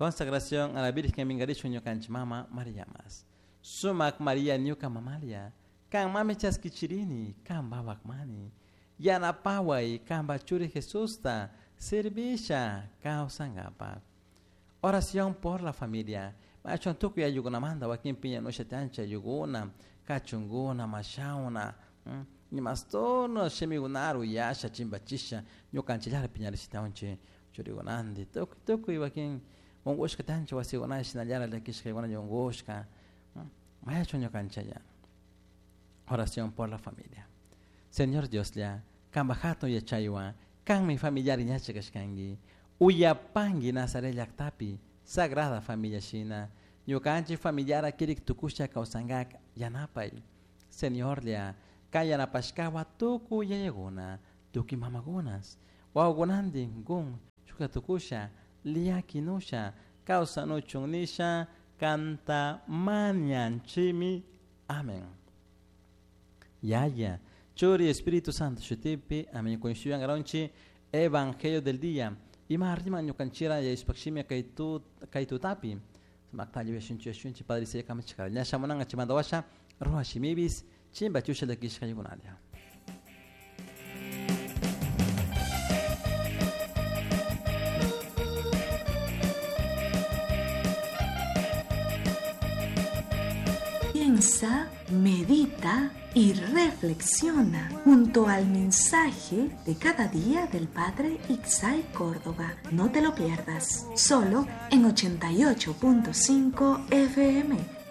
Consagración a la Virgen Mingarishun ñukanchik mama Mariamas. Sumak Maria ñuka mamalia. Kan mami chaskichirini, kan babak mani. Yanapaway kanpa churi Jesusta servisha kawsankapak. Oración por la familia. Machon tukuy ayllukunamanta wakin piñanusha tiancha ayllukuna, kachunkuna, mashawna, imastono shimikunara uyasha chimpachisha ñukanchillara piñarishitawanchik churikunanti tukuy tukuy wakin unqushka tianchik wasikunata shinallara llakishkakuna unqushka mayachun ñukanchalla. Oración por la familia. Señor Dioslla, kanpa hatun yachaywan kanmi familiar ñacha kashkanki. Uyapanki Nazaret llaktapi Sagrada Familia shina ñukanchik familiara kirik tukusha kawsankak yanapay. Señorlla, kan yanapashkawa tukuy yayakuna, tukuy mamakunas, wawakunantin kun shukta tukusha, llakinusha, kawsanuchun nisha, kanta mañanchimi. Amén. Yaya, Churi, Espíritu Santo, shutipi, amén. Kunshuyan Evangelio del día. Ima arrima ñukanchira yayushpakshimi kay tutapi. Sumakta yuyashunchi yashunchi Padre Isiya kamachikara. Ña shamunanga chimanda washa, ruwa shimibis, chimba chusha llakishka yukunalla. Piensa, medita y reflexiona junto al mensaje de cada día del Padre Ixay Córdoba. No te lo pierdas, solo en 88.5 FM.